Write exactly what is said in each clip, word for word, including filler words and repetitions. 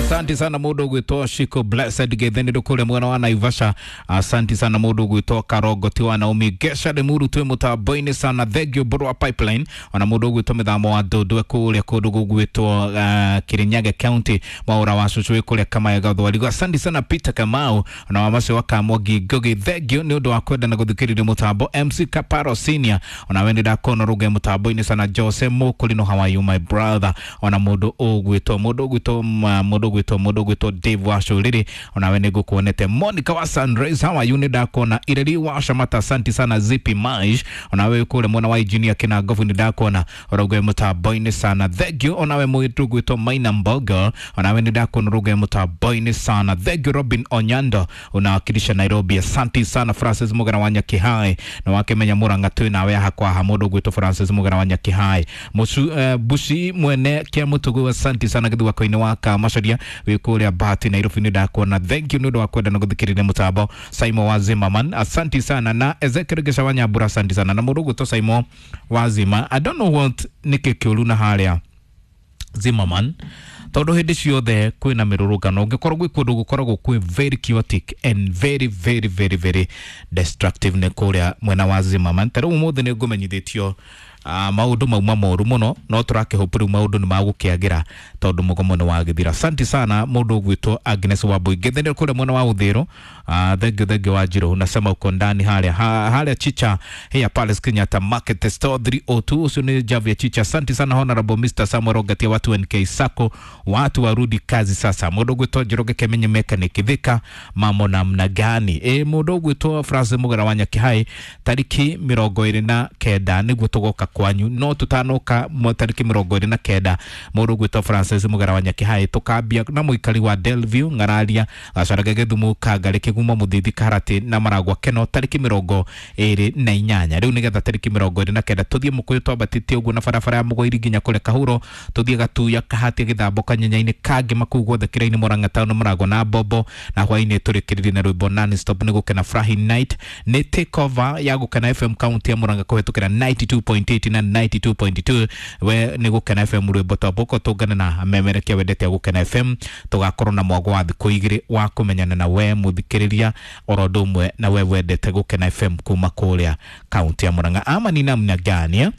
Asante sana mundu ugwitwo Shiko Blessed Getheni ndukure mwena wa Naivasha. Asante sana mundu ugwitwo Karongo ti wa Naomi Gesha Limuru twi mutambo-ini sana. Thank you Borwa Pipeline. Ona mundu ugwitwo mithamo wa Ndundwe kuria kundu gugwitwo uh, Kirinyaga County Mwaura wa Cucu wi kuria Kamayaga Thwarigo. Asante sana Peter Kamau ona wa macio wa Kamwangi Ngugi. Thank you ni undu wa kwenda na guthikiriria mutambo. M C Kaparo Senior ona we ndakona ruge mutambo-ini sana. Jose Mukulino, how are you my brother? Ona mundu ugwitwo mundu ugwitwo mundu ugwitwo mundu ugwitwo Dave Wacuriri ona we nigukuonete. Monica wa Sunrise, how are you? Ni ndakona Ireri wa Shamata, asante sana Zipi Maish ona we kule mwana wa engineer kina Ngovu ni ndakona ruge mutambo-ini sana. Thank you. Ona we mwitu ugwitwo Maina Mbogo ona we ni ndakona ruge mutambo-ini sana. Thank you Robin Onyando unawakilisha Nairobi, asante sana Francis Mugara wa Nyakihai na wakemenya Murang'a twi nawe hakwa ha mundu ugwitwo Francis Mugara wa Nyakihai Musu uh, Bushi mwene kia mutugu, asante sana githu wakoini wa Kamacaria wi kuria Bahati Nairobi ni ndakuona. Thank you ni undu wa kwenda na guthikiriria mutambo. Simon wa Zimmerman, asante sana na Ezekiel Gesha wa Nyambura, asante sana na mundu ugwitwo Simon wa Zima. I don't know what niki kiuru na haria Zimmerman tondu hindi ciothe kwina mirurungano ungikorwo gwi kundu gukoragwo kwi very chaotic and very very very very destructive ni kuria mwena wa Zimmerman. Ta riu umuthi ni ngumenyithitio uh, maundu mauma moru muno no turakihope riu maundu ni magukiagira tondu mugomo ni wagithira. Asante sana mundu ugwitwo Agnes Wambui Ngethene kuria mwena wa Uthiru. Uh, thank you, thank you Wanjiru, unasema uko ndani haria ha, haria Chicha here Palace Kenyatta Market Store three oh two ucio ni Javier Chicha. Asante sana Honorable Mister Samuel Ogatia watu N K Sacco, watu warudi kazi sasa. Mundu ugwitwo Njoroge Kemenye Mechanic Thika mamo namna gani? E mundu ugwitwo Francis Mugara wa Nyakihai tariki mirongo iri na kenda niguo tugoka kwanyu no tutanoka tariki mirongo iri na kenda mundu ugwitwo Francis Mugara wa Nyakihai tukambia na muikari wa Delview Ng'araria Gacarage Githumu Kangari Kigumo Muthithi Karati na Maragwa Keno tariki mirongo iri na inyanya. Riu nigetha tariki mirongo iri na kenda tuthie Mukuyu twambatĩtie ũguo na barabara ya Mũgoiri nginya kũrĩa Kahuro tuthie Gatuya Kahati Gĩthambo Kanyenyainĩ Kangema kũu guothe Kĩraini Murang'a Town Mũrango na Mbombo na hwainĩ tũrĩkĩrĩrie na rwĩmbo non stop nĩ Gũkena Furahi Night nĩ take over ya Gũkena F M county ya Murang'a kũhetũkĩra ninety two point eight na ninety two point two we nĩ Gũkena F M rwĩmbo twambũko tũngane na memerekia wendete Gũkena F M tũgakorwo na mwago wa thikũ igĩrĩ wa kũmenyana na we mũthikĩrĩria oro ũndũ ũmwe na we wendete Gũkena F M kuma kũrĩa county ya Murang'a. Ama ni namna gani eh?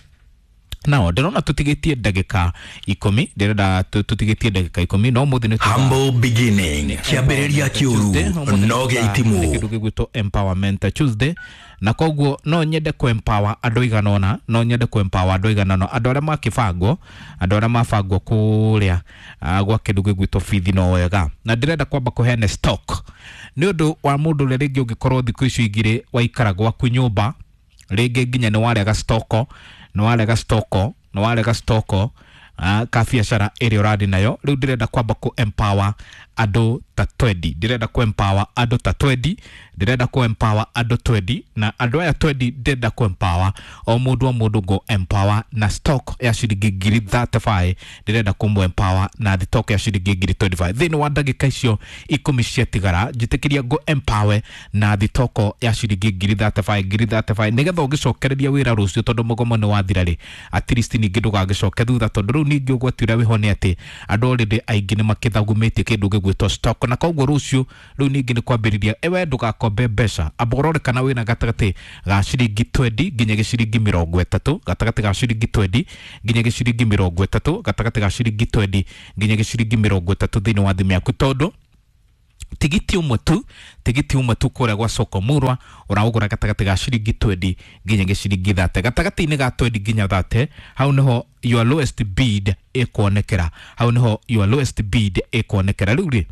Nao ndĩrona tũtigĩtie ndagĩka ikũmi ndĩrenda tũtigĩtie ndagĩka ikũmi no mũthĩ nĩ Humble beginning kĩambĩrĩria kĩũru no gĩitimu kĩndũ gĩgwĩtwo empowerment Tuesday na koguo no nyende ku empower andũ igana ũna no nyende ku empower andũ igana ũna andũ arĩa makĩbangwo andũ arĩa mabangwo kũrĩa gwa kĩndũ gĩgwĩtwo bithi no wega na ndĩrenda kwamba kũheana stock nĩ ũndũ wa mũndũ ũrĩa rĩngĩ ũngĩkorwo thikũ icio igĩrĩ waikara gwaku nyũmba rĩngĩ nginya nĩ warega stoko nĩ warega stoko nĩ warega stoko uh, ka biacara ĩrĩa ũrathiĩ nayo. Rĩu ndĩrenda kwamba ku empower andũ ta twenty ndĩrenda ku empower andũ ta twenty ndĩrenda ku empower andũ twenty na andũ aya twenty ndĩrenda ku empower o mũndũ o mũndũ ngo empower na stock ya ciringi ngiri thirty five ndĩrenda kũmũ empower na stock ya ciringi ngiri twenty five thĩinĩ wa ndagĩka icio ikũmi ciatigara njĩtĩkĩria ngo empower na stock ya ciringi ngiri thirty five ngiri thirty five nĩgetha ũngĩcokereria wĩra rũciũ tondũ mũgomo nĩ wathira rĩ at least ningĩ ndũgagĩcoke thutha tondũ rĩu ningĩ ũgwati ũrĩa wĩho nĩ atĩ andũ already aingĩ nĩ makĩthagumĩtie kĩndũ gĩgwĩtwo stock na koguo rũciũ rĩu ningĩ nĩ kwambĩrĩria ewe ndũgakombe mbeca amba ũrore kana wĩna gatagatĩ ga ciringi twenty nginya gĩciringi mĩrongo ĩtatũ gatagatĩ ga ciringi twenty nginya gĩciringi mĩrongo ĩtatũ gatagatĩ ga ciringi twenty nginya gĩciringi mĩrongo ĩtatũ thĩinĩ wa thimũ yaku tondũ tigiti ũmwe tu tigiti ũmwe tu kũrĩa gwa soko murwa ũraũgũra gatagatĩ ga ciringi twenty nginya gĩciringi thirty gatagatĩ-inĩ ga twenty nginya thirty hau nĩho your lowest bid ĩkuonekera hau nĩho your lowest bid ĩkuonekera. Rĩu rĩ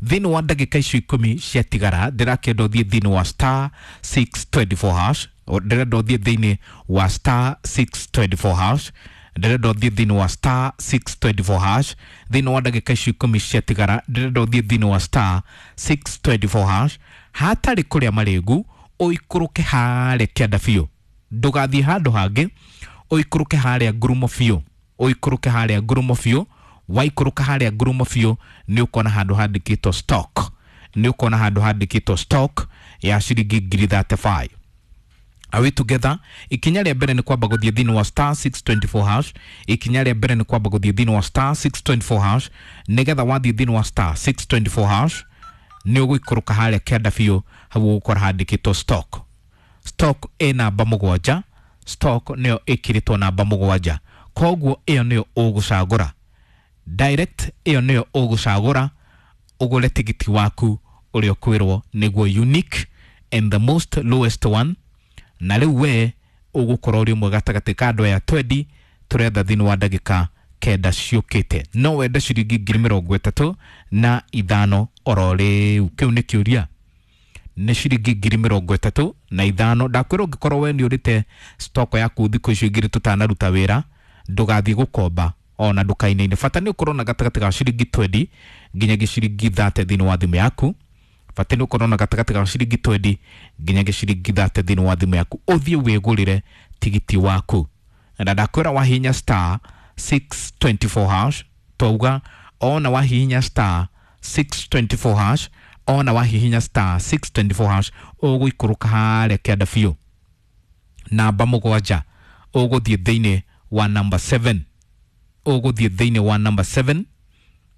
thĩinĩ wa ndagĩka icio ikũmi ciatigara ndĩrakĩenda ũthiĩ thĩinĩ wa star six twenty four hash ndĩrenda ũthiĩ thĩinĩ wa star six twenty four hash ndĩrenda ũthiĩ thĩinĩ wa star six twenty four hash thĩinĩ wa ndagĩka icio ikũmi ciatigara ndĩrenda ũthiĩ thĩinĩ wa star six twenty four hash hatarĩ kũrĩa marĩngu ũikũrũke harĩa kĩanda biũ ndũgathiĩ handũ hangĩ ũikũrũke harĩa ngurumo biũ ũikũrũke harĩa ngurumo biũ waikũrũka harĩa ngurumo biũ nĩ ũkona handũ handĩkĩtwo stock nĩ ũkona handũ handĩkĩtwo stock ya ciringi ngiri thirty five. Are we together? Ikinya rĩa mbere nĩ kwamba gũthiĩ thĩinĩ wa star six twenty four hash. Ikinya rĩa mbere nĩ kwamba gũthiĩ thĩinĩ wa star six twenty four hash. Nĩgetha wathiĩ thĩinĩ wa star six twenty four hash nĩ ũgũikũrũka harĩa kĩanda biũ, hau ũgũkora handĩkĩtwo stock. Stock ĩ namba mũgwanja, stock nĩyo ĩkĩrĩtwo namba mũgwanja, koguo ĩyo nĩyo ũgũcagũra direct, ĩyo nĩyo ũgũcagũra ũgũre tigiti waku ũrĩa ũkwĩrwo nĩguo unique and the most lowest one. Na rĩu we ũgũkorwo ũrĩ ũmwe gatagatĩ ka andũ aya twendi tũretha thĩinĩ wa ndagĩka kenda ciũkĩte. No wende ciringi ngiri mĩrongo ĩtatũ na ithano oro rĩu? Kĩu nĩ kĩũria. Nĩ ciringi ngiri mĩrongo ĩtatũ na ithano. Ndakwĩra ũngĩkorwo we nĩ ũrĩte stock yaku thikũ icio igĩrĩ tũtanaruta wĩra, ndũgathiĩ gũkomba ona ndukaine-inĩ. Bata nĩ ũkorwo na gatagatĩ ga ciringi twendi nginyagia ciringi thate thĩinĩ wa thimũ yaku. Bata nĩ ũkorwo na gatagatĩ ga ciringi twendi nginyagia ciringi thate thĩinĩ wa thimũ yaku, ũthiĩ wĩgũrĩre tigiti waku. Na ndakwĩra wahihinya star six twenty four hash, twauga ona wahihinya star six twenty four hash, ona wahihinya star six twenty four hash ũgũikũrũka harĩa kĩanda biũ namba mũgwanja, ũgũthiĩ thĩinĩ wa number seven, ũgũthiĩ thĩinĩ wa number seven,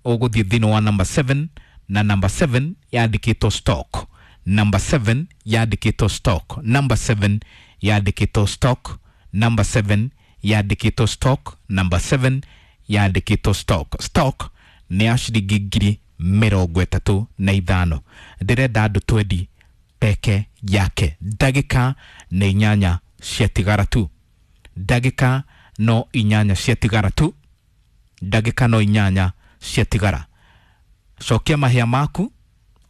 ũgũthiĩ thĩinĩ wa number seven, na number seven yandĩkĩtwo stock, number seven yandĩkĩtwo stock, number seven yandĩkĩtwo stock, number seven yandĩkĩtwo stock, number seven yandĩkĩtwo stock. Stock nĩ ya ciringi ngiri mĩrongo ĩtatũ na ithano. Ndĩrenda andũ twendi peke yake. Ndagĩka nĩ inyanya ciatigara tu, ndagĩka no inyanya ciatigara tu, ndagĩka no inyanya ciatigara. Cokia mahĩa maku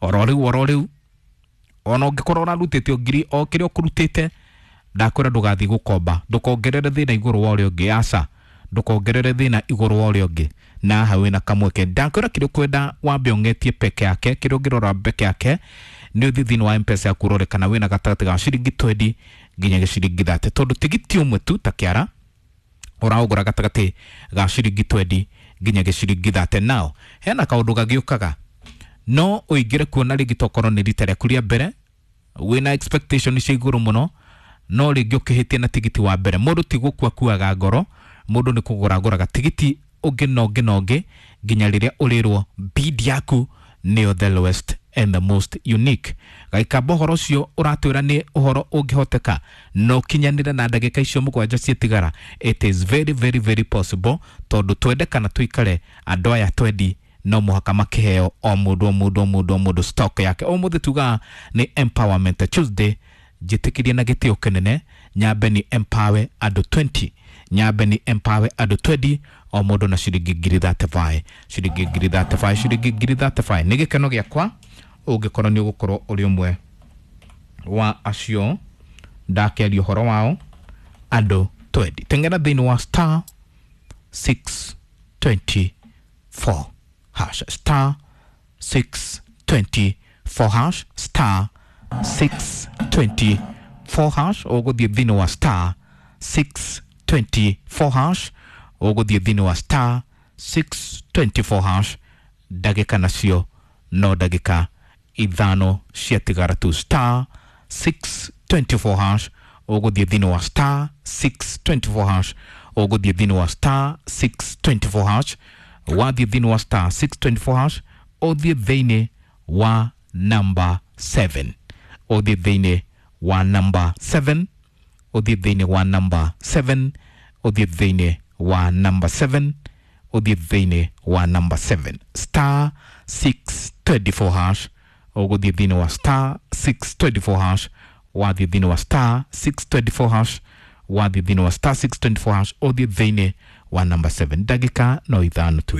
oro rĩu oro rĩu. Ona ũngĩkorwo ũrarutĩte o ngiri o kĩrĩa ũkũrutĩte, ndakwĩra ndũgathiĩ gũkomba, ndũkongerere thĩna igũrũ wa ũrĩa ũngĩ. Aca, ndũkongerere thĩna igũrũ wa ũrĩa ũngĩ. Na haha wĩna kamweke. Ndakwĩra kĩrĩa ũkwenda wambe ũng'etie peke yake, kĩrĩa ũngĩrora peke yake nĩ ũthiĩ thĩinĩ wa M-Pesa yaku ũrore kana wĩna gatagatĩ ga ciringi twendi nginyagia ciringi thate, tondũ tigiti ũmwe tu ta kĩara ũraũgũra gatagatĩ ga ciringi twendi nginyagia ciringi thate. Nao hena kaũndũ gagĩũkaga, no ũingĩre kuona rĩngĩ tokorwo nĩ rita rĩaku rĩa mbere, wĩna expectation cia igũrũ mũno, no rĩngĩ ũkĩhĩtia na tigiti wa mbere. Mũndũ ti gũkua kuaga ngoro, mũndũ nĩ kũgũra agũraga tigiti ũngĩ na ũngĩ na ũngĩ nginya rĩrĩa ũrĩrwo bid yaku nĩyo the lowest and the most unique. Gaikamba ũhoro ũcio ũratwĩra nĩ ũhoro ũngĩhoteka na ũkinyanĩre na ndagĩka icio mũgwanja ciatigara. It is very very very possible, tondũ twende kana tũikare andũ aya twendi no mũhaka makĩheo o mũndũ o mũndũ o mũndũ o mũndũ stock yake. Ũmũthĩ tugaga nĩ empowerment Tuesday. Njĩtĩkĩrie na gĩtĩo kĩnene nyambe ni empower andũ twenty, nyambe ni empower andũ twenty, o mũndũ na ciringi ngiri thirty five, ciringi ngiri thirty five, ciringi ngiri thirty five. Nĩ gĩkeno gĩakwa ũngĩkorwo nĩ ũgũkorwo ũrĩ ũmwe wa acio ndakĩaria ũhoro wao andũ twenty. Teng'era thĩinĩ wa star six twenty four hash, star six twenty four hash, star six twenty four hash. Ũgũthiĩ thĩinĩ wa star six twenty four hash, ũgũthiĩ thĩinĩ wa star six twenty four hash. Ndagĩka nacio no ndagĩka ithano ciatigara tu. Star six twenty four hash, ũgũthiĩ thĩinĩ wa star six twenty four hash, ũgũthiĩ thĩinĩ wa star six twenty four hash. Wathiĩ thĩinĩ wa star six twenty four hash, ũthiĩ thĩinĩ wa number seven, ũthiĩ thĩinĩ wa number seven, ũthiĩ thĩinĩ wa number seven, ũthiĩ thĩinĩ wa number seven, ũthiĩ thĩinĩ wa number seven. Star six twenty four hash, ũgũthiĩ thĩinĩ wa star six twenty four hash, wathiĩ thĩinĩ wa star six twenty four hash, wathiĩ thĩinĩ wa star six twenty four hash, ũthiĩ thĩinĩ wa number seven. Ndagĩka no ithano tu.